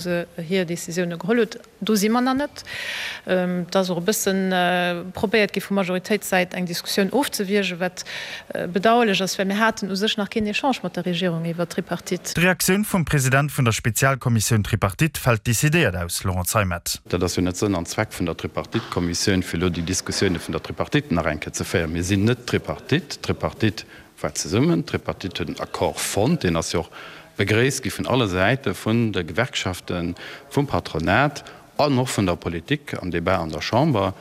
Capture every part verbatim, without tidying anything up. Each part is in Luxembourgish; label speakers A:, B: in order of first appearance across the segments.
A: se hir Décisioune geholl huet. Do si mer nach net. Et ass och e bësse probéiert gi vu Majoritéitssäit eng Diskussioun ofzewiergen, wat bedauerlech ass, well mir haten u sech nach keen Echange mat der Regierung iwwert d'Tripartite.
B: D'Reaktioun vum President vun der Spezialkommissioun Tripartite fält decidéiert aus, Laurent Zeimet.
C: Dat ass jo net Sënn an Zweck vun der Tripartite-Kommissioun, fir elo déi Diskussioune vun der Tripartite nach eng Kéier ze féieren. Mir sinn net d'Tripartite. D'Tripartite war zesummen. D'Tripartite huet en Accord fonnt, deen ass jo och begréisst gi vun alle Säite, vun de Gewerkschaften, vum Patronat an och vun der Politik am Débat an der Chamber.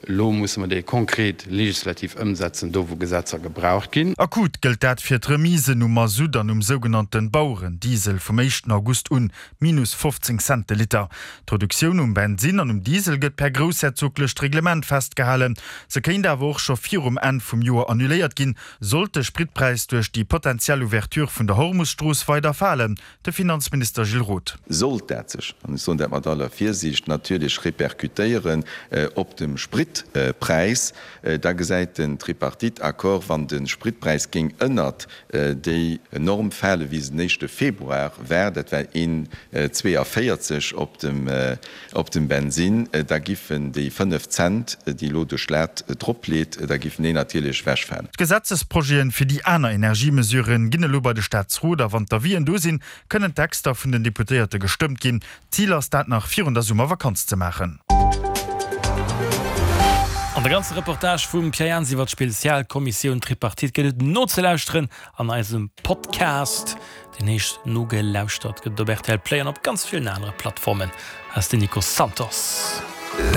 C: Elo musse mer dee konkret legislativ ëmsetzen, do wou Gesetzer gebraucht ginn.
B: Akut gëllt dat fir d'Remisen um Masutt an um sougenannte Bauerendiesel vum éischten August un, minus fofzéng Cent de Liter. D'Reduktioun um Bensinn an um Diesel gëtt per groussherzoglecht Reglement festgehalen. Se kéint awer och scho virum Enn vum Joer annuléiert ginn, Sollt de Spritpräis duerch déi potentiell Ouverture vun der Hormus-Strooss weider falen? De Finanzminister Gilles Roth.
D: Sollt dat sech, an ech soen dat mat aller Virsiicht, natierlech repercutéieren op dem Spritpräis, da gesäit den Tripartite-Accord, wann de Spritpräis géing ënnert déi Norm fale wéi se den éischte Februar war, dat war een zwéiavéierzeg op dem op dem Bensinn, da giffen déi fënnef Cent, déi elo de Staat drop leet, da giffen déi natierlech ewechfalen.
B: D'Gesetzesprojeten fir déi aner Energiemesurë ginn elo bei de Staatsrot a wann d'Avisen do sinn, kënnen d'Texter vun den Deputéierte gestëmmt ginn. D'Zil ass, dat nach virun der Summervakanz ze maachen.
E: An de ganze Reportage vum Pierre Jans iwwer d'Spezialkommissioun Tripartite gëtt et nozelauschteren an eisem Podcast. Deen heescht Nogelauschtert, gëtt et op rtl Play an op ganz villen anere Plattformen. Aus den Nico Santos.